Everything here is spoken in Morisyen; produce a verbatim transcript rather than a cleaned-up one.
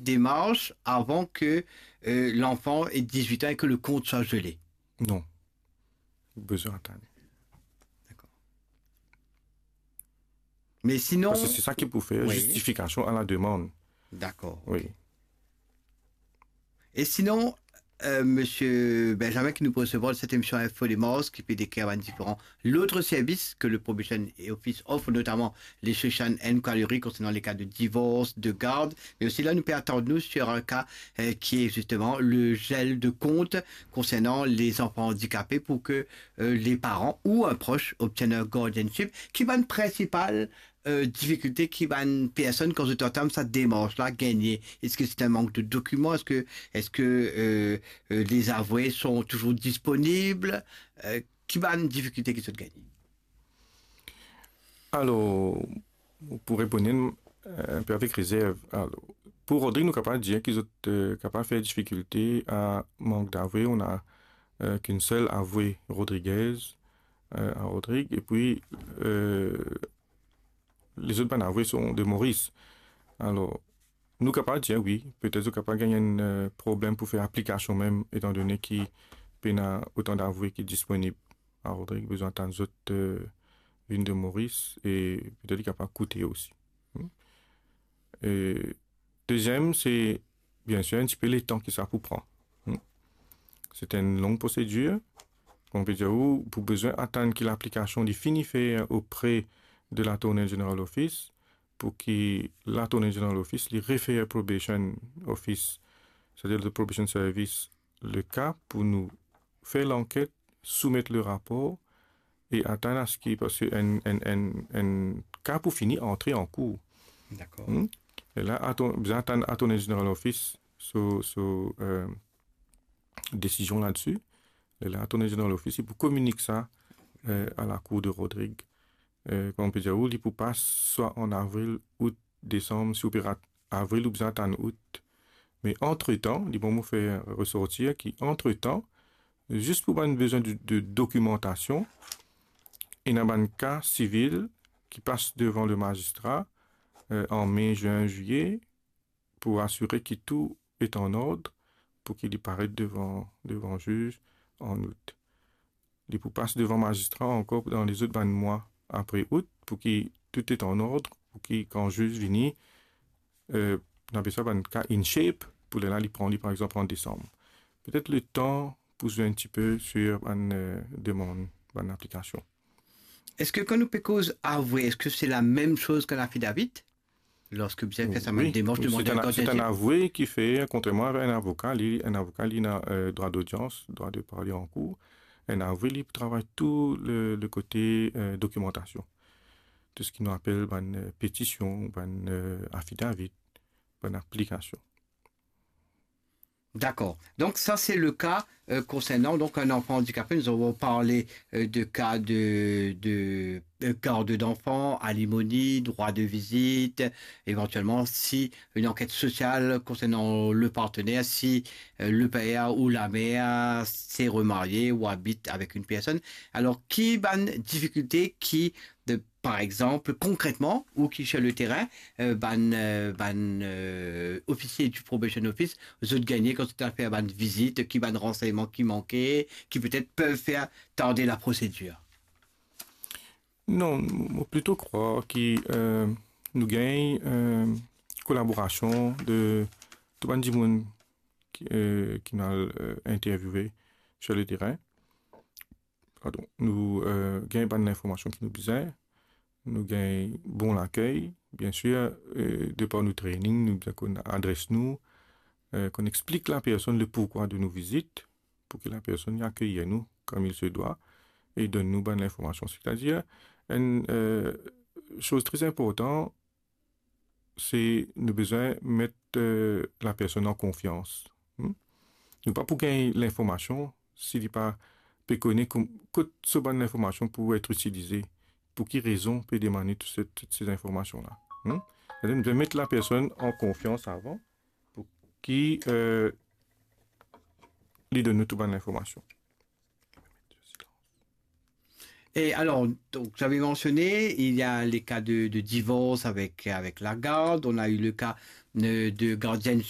démarche avant que, euh, l'enfant ait dix-huit ans et que le compte soit gelé ? Non. Ou bezwin atann. Dakor. Me sinon... Parski se sa ki pou fer, wi, zistifikasion a la demann. Dakor, wi, ok. E sinon, euh, Misie Benjamin ki nou pou resevwar dan set emision Info Démarche, ki pe dekrir bann diferan lot servis ke le Probation Office ofre, notaman le Social Inquiry konsernan le ka de divors, de gard, me osi la nou pe atann nou sur un cas, euh, qui est justement le gel de compte concernant les enfants handicapés pour que, euh, les parents ou un proche obtienne un guardianship. Ki bann prinsipal, euh, difikilte ki bann personn, kan zot antam sa demars la, gagne ? Eski se un mank de dokiman ? Eski, eski, euh, euh, les avoués sont toujours disponibles ? Euh, ki bann difikilte ki zot gagne ? Alor, pou reponn, euh, inpe avek rezerv, alor, pou Rodrig, nou kapav dir ki zot, euh, kapav fer difikilte a mank d'avoué. On a, euh, qu'une seule avouée rodriguaise, euh, à Rodrigues, epi, euh, lezot bann avoué sont de Maurice. Alor, nou kapav dir, wi, petet zot kapav gagn enn, euh, problem pou fer aplikasion mem, etandone ki pena otan d'avoué ki disponib. A Rodrig, bezwin atann zot, euh, vinn de Maurice, e petet li kapav koute osi. Hmm. E deziem, se, biensir, enn tipe letan ki sa pou pran. Hmm. Se enn long prosedir. Kouma pe dir ou, pou bezwin atann ki laplikasion li fini fer auprès de l'Attorney General Office, pou ki l'Attorney General Office, li refer Probation Office, setadir le Probation Service, le ka pou nou fer lanket, soumet le rapor e atann aski, parski enn, enn, enn, enn ka pou fini antre an kour. Dakor. Hmm? E la, atann, bizin atann Attorney General Office so, so, euh, desizion ladsi. E la, Attorney General Office, li pou kominik sa, euh, a la Cour de Rodrigues. Euh, kouma pe dir ou, li pou pas swa an avril, out, desam, si ou pe rat avril, ou bizin atann out. Me antretan, li pou fer resortir ki antretan, zis pou bann bizin de, de dokimantasion, ena bann ka sivil ki pas devan le mazistra, euh, an me, zin, zilie, pou asire ki tou est en ordre, pou ki li paret devan, devan ziz an out. Li pou pas devan mazistra ankor dan lezot bann mwa apre out, pou ki tou est en ordre, pou ki kan ziz vini, euh, nou apel sa bann ka in shape, pou lerla li pran li, par exanp, an desam. Petet letan pou zwe enn tipe sir bann, euh, demann, bann aplikasion. Eski kan nou pe koz avoué, eski se la mem soz ki enn affidavit ? Lorski bizin fer sa bann demars, wi, demann se enn, se enn avoué ki fer, kontrerman avek enn avoka, li, enn avoka, li ena, euh, drwa dodians, drwa de parle an kour. Enn avoué, li pou travay tou le, le kote, euh, dokimantasion. Tou seki nou apel bann, euh, petision, bann, euh, affidavit, bann aplikasion. D'accord. Donc ça, c'est le cas, euh, concernant donc un enfant handicapé. Nous avons parlé, euh, de cas de, de, euh, garde d'enfant, alimony, droit de visite, éventuellement si une enquête sociale concernant le partenaire, si, euh, le père ou la mère s'est remarié ou habite avec une personne. Alors, ki bann difikilte ki de, par exanp, konkretman, ou ki sur le terrain, euh, bann, euh, bann, euh, ofisie du Probation Office, zot gagne kan zot al fer bann vizit, ki bann ransegnman ki manke, ki petet pev fer tarde la prosedir ? Non, mo plito krwar ki, euh, nou gagn, euh, kolaborasion de tou bann dimoun ki, euh, ki nou al, euh, interviewe sur le terrain. Pardon, nou, euh, gagn bann linformasion ki nou bizin, nou gagn bon lakey, biensir, euh, depar nou training, nou bizin konn adres nou, euh, konn explik lapersonn le pourquoi de nou vizit, pou ki lapersonn li akeyir nou comme il se doit, e donn nou bann linformasion. Setadir, enn, euh, soz tre inportan, se nou bizin met, euh, lapersonn an konfians. Hmm? Nou pa pou gagn linformasion si li pa pe kone kom-, kot so bann linformasion pou et itilize, pou ki rezon pe demann li tou se, tou se linformasion la. Hmm? Setadir nou bizin met lapersonn an konfians avan, pou ki, euh, li donn nou tou bann linformasion. Et alors, donc, j'avais mentionné, il y a les cas de, de divorce avec, avec la garde, on a eu le cas, euh, de guardianship